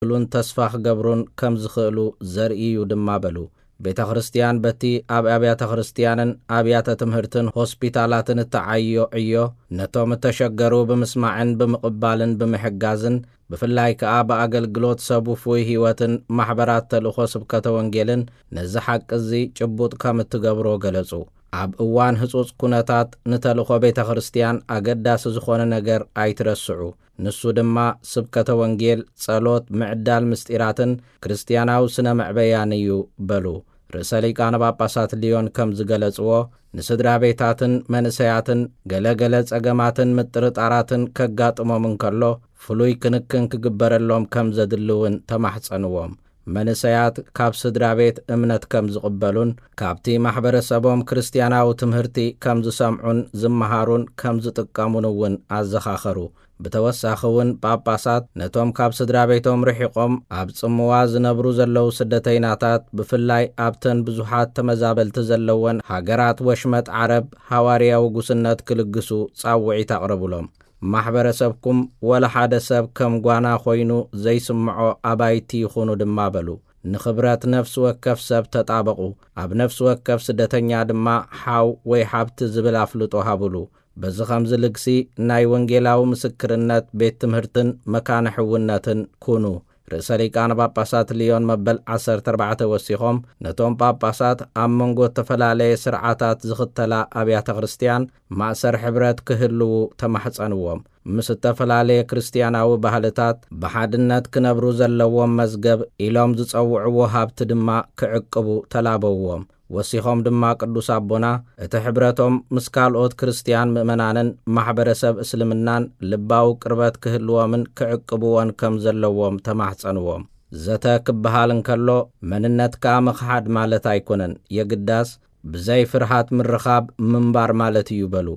ክብሉን ተስፋ ክገብሩን ከም ዝኽእሉ ዘርኢ እዩ ድማ በሉ። ቤተ ክርስቲያን በቲ ኣብ ኣብያተ ክርስቲያንን ኣብያተ ትምህርትን ሆስፒታላትን እተዓዮ ዕዮ ነቶም እተሸገሩ ብምስማዕን ብምቕባልን ብምሕጋዝን ብፍላይ ከኣ ብኣገልግሎት ሰብ ውፉይ ህይወትን ማሕበራት ተልእኾ ስብከተ ወንጌልን ነዚ ሓቂ እዚ ጭቡጥ ከም እትገብሮ ገለጹ። ኣብ እዋን ህጹጽ ኩነታት ንተልእኾ ቤተ ክርስቲያን ኣገዳሲ ዝኾነ ነገር ኣይትረስዑ። ንሱ ድማ ስብከተ ወንጌል፣ ጸሎት፣ ምዕዳል ምስጢራትን ክርስትያናዊ ስነ መዕበያን እዩ በሉ። ርእሰ ሊቃነ ጳጳሳት ሊዮን ከም ዝገለጽዎ፣ ንስድራ ቤታትን መንእሰያትን ገለ ገለ ጸገማትን ምጥርጣራትን ከጋጥሞም እንከሎ፣ ፍሉይ ክንክን ክግበረሎም ከም ዘድሊ እውን ተማሕጸንዎም። መንእሰያት ካብ ስድራ ቤት እምነት ከም ዝቕበሉን ካብቲ ማሕበረሰቦም ክርስትያናዊ ትምህርቲ ከም ዝሰምዑን ዝመሃሩን ከም ዝጥቀሙን እውን ኣዘኻኸሩ። ብተወሳኺ እውን ጳጳሳት ነቶም ካብ ስድራ ቤቶም ርሒቖም ኣብ ጽምዋ ዝነብሩ ዘለዉ ስደተይናታት፣ ብፍላይ ኣብተን ብዙሓት ተመዛበልቲ ዘለወን ሃገራት ወሽመጥ ዓረብ፣ ሃዋርያዊ ጉስነት ክልግሱ ጻውዒት ኣቕረቡሎም። ማሕበረሰብኩም ወላ ሓደ ሰብ ከም ጓና ኮይኑ ዘይስምዖ ኣባይቲ ይኹኑ ድማ በሉ። ንኽብረት ነፍሲ ወከፍ ሰብ ተጣበቑ። ኣብ ነፍሲ ወከፍ ስደተኛ ድማ ሓው ወይ ሓብቲ ዝብል ኣፍልጦ ሃቡሉ። በዚ ኸምዚ ልግሲ ናይ ወንጌላዊ ምስክርነት ቤት ትምህርትን መካነ ሕውነትን ኩኑ። ርእሰ ሊቃነ ጳጳሳት ሊዮን መበል ዓሰርተ ኣርባዕተ ወሲኾም፣ ነቶም ጳጳሳት ኣብ መንጎ እተፈላለየ ስርዓታት ዝኽተላ ኣብያተ ክርስትያን ማእሰር ሕብረት ክህልዉ ተማሕጸንዎም። ምስ እተፈላለየ ክርስትያናዊ ባህልታት ብሓድነት ክነብሩ ዘለዎም መዝገብ ኢሎም ዝጸውዕዎ ሃብቲ ድማ ክዕቅቡ ተላበውዎም። ወሲኾም ድማ ቅዱስ ኣቦና እቲ ሕብረቶም ምስ ካልኦት ክርስትያን ምእመናንን ማሕበረሰብ እስልምናን ልባዊ ቅርበት ክህልዎምን ክዕቅብዎን ከም ዘለዎም ተማሕጸንዎም። ዘተ ክበሃል እንከሎ መንነትካ ምኽሓድ ማለት ኣይኮነን፣ የግዳስ ብዘይ ፍርሃት ምርኻብ ምንባር ማለት እዩ በሉ።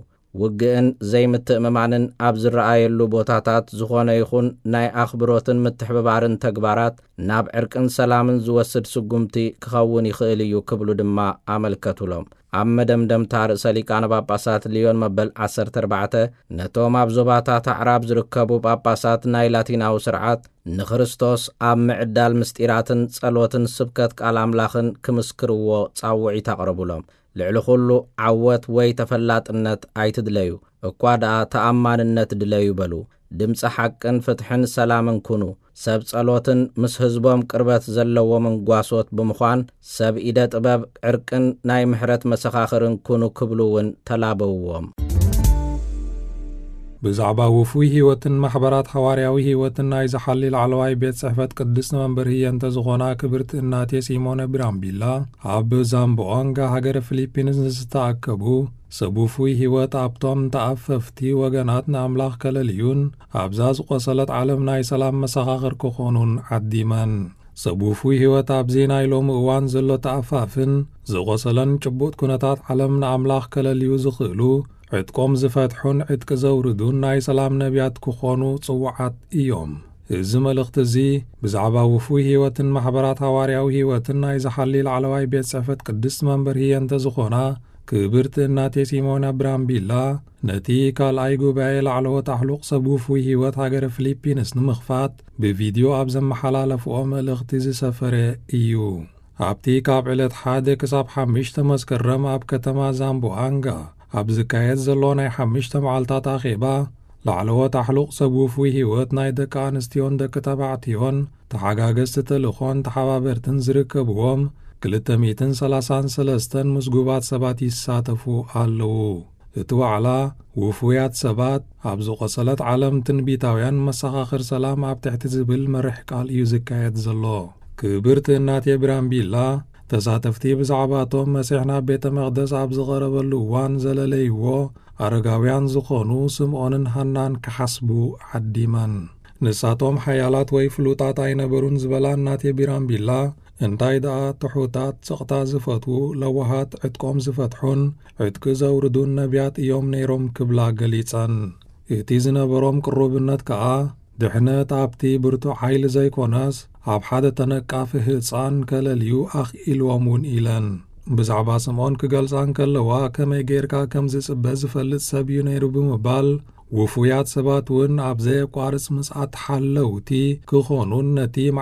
ውግእን ዘይምትእምማንን ኣብ ዝረኣየሉ ቦታታት ዝኾነ ይኹን ናይ ኣኽብሮትን ምትሕብባርን ተግባራት ናብ ዕርቅን ሰላምን ዝወስድ ስጉምቲ ክኸውን ይኽእል እዩ ክብሉ ድማ ኣመልከቱሎም። ኣብ መደምደምታ ርእሰ ሊቃነ ጳጳሳት ሊዮን መበል ዓሰርተ ኣርባዕተ ነቶም ኣብ ዞባታት ኣዕራብ ዝርከቡ ጳጳሳት ናይ ላቲናዊ ስርዓት ንክርስቶስ ኣብ ምዕዳል ምስጢራትን ጸሎትን ስብከት ቃል ኣምላኽን ክምስክርዎ ጻውዒት ኣቕረቡሎም። ልዕሊ ኹሉ ዓወት ወይ ተፈላጥነት ኣይትድለዩ፣ እኳ ደኣ ተኣማንነት ድለዩ በሉ። ድምጺ ሓቅን ፍትሕን ሰላምን ኩኑ። ሰብ ጸሎትን ምስ ህዝቦም ቅርበት ዘለዎምን ጓሶት ብምዃን ሰብ ኢደ ጥበብ ዕርቅን ናይ ምሕረት መሰኻኽርን ኩኑ ክብሉ እውን ተላበውዎም። ብዛዕባ ውፉይ ህይወትን ማሕበራት ሓዋርያዊ ህይወትን ናይ ዝሓሊ ላዕለዋይ ቤት ጽሕፈት ቅድስቲ መንበር ህየንተ ዝኾና ክብርቲ እናቴ ሲሞነ ብራምቢላ ኣብ ዛምቦኣንጋ ሃገረ ፊሊፒንስ ንዝተኣከቡ ሰብ ውፉይ ህይወት ኣብቶም ተኣፈፍቲ ወገናት ንኣምላኽ ከለልዩን ኣብዛ ዝቖሰለት ዓለም ናይ ሰላም መሰኻኽር ክኾኑን ዓዲመን። ሰብ ውፉይ ህይወት ኣብዚ ናይ ሎሚ እዋን ዘሎ ተኣፋፍን ዝቖሰለን ጭቡጥ ኩነታት ዓለም ንኣምላኽ ከለልዩ ዝኽእሉ ዕጥቆም ዝፈትሑን ዕጥቂ ዘውርዱን ናይ ሰላም ነቢያት ክኾኑ ጽዉዓት እዮም። እዚ መልእኽቲ እዚ ብዛዕባ ውፉይ ህይወትን ማሕበራት ሃዋርያዊ ህይወትን ናይ ዝሓሊ ላዕለዋይ ቤት ጽሕፈት ቅድስቲ መንበር ህየንተ ዝኾና ክብርቲ እናቴ ሲሞና ብራምቢላ ነቲ ካልኣይ ጉባኤ ላዕለዎት ኣሕሉቕ ሰብ ውፉይ ህይወት ሃገረ ፊሊፒንስ ንምኽፋት ብቪድዮ ኣብ ዘመሓላለፍኦ መልእኽቲ ዝሰፈረ እዩ። ኣብቲ ካብ ዕለት ሓደ ክሳብ ሓሙሽተ መስከረም ኣብ ከተማ ዛምቦኣንጋ ኣብ ዝካየድ ዘሎ ናይ ሓሙሽተ መዓልታት ኣኼባ ላዕለዎት ኣሕሉቕ ሰብ ውፉይ ህይወት ናይ ደቂ ኣንስትዮን ደቂ ተባዕትዮን ተሓጋገዝቲ ተልእኾን ተሓባበርትን ዝርከብዎም ክልተ ሚእትን ሰላሳን ሰለስተን ምዝጉባት ሰባት ይሳተፉ ኣለዉ። እቲ ዋዕላ ውፉያት ሰባት ኣብ ዝቖሰለት ዓለም ትንቢታውያን መሰኻኽር ሰላም ኣብ ትሕቲ ዝብል መርሕ ቃል እዩ ዝካየድ ዘሎ። ክብርቲ እናቴ ብራምቢላ ተሳተፍቲ ብዛዕባቶም መሲሕ ናብ ቤተ መቕደስ ኣብ ዝቐረበሉ እዋን ዘለለይዎ ኣረጋውያን ዝኾኑ ስምዖንን ሃናን ክሓስቡ ዓዲመን። ንሳቶም ሓያላት ወይ ፍሉጣት ኣይነበሩን ዝበላ እናቴ ቢራምቢላ፣ እንታይ ደኣ ትሑታት፣ ስቕታ ዝፈትዉ፣ ለዋሃት፣ ዕጥቆም ዝፈትሑን ዕጥቂ ዘውርዱን ነቢያት እዮም ነይሮም ክብላ ገሊጸን። እቲ ዝነበሮም ቅሩብነት ከኣ ድሕነት ኣብቲ ብርቱዕ ሓይሊ ዘይኮነስ ኣብ ሓደ ተነቃፊ ህጻን ከለልዩ ኣኽኢልዎም እውን ኢለን። ብዛዕባ ስምዖን ክገልጻ እንከለዋ ከመይ ጌርካ ከም ዝጽበ ዝፈልጥ ሰብ እዩ ነይሩ ብምባል ውፉያት ሰባት እውን ኣብ ዘየቋርጽ ምጽኣት ሓለውቲ ክኾኑን ነቲ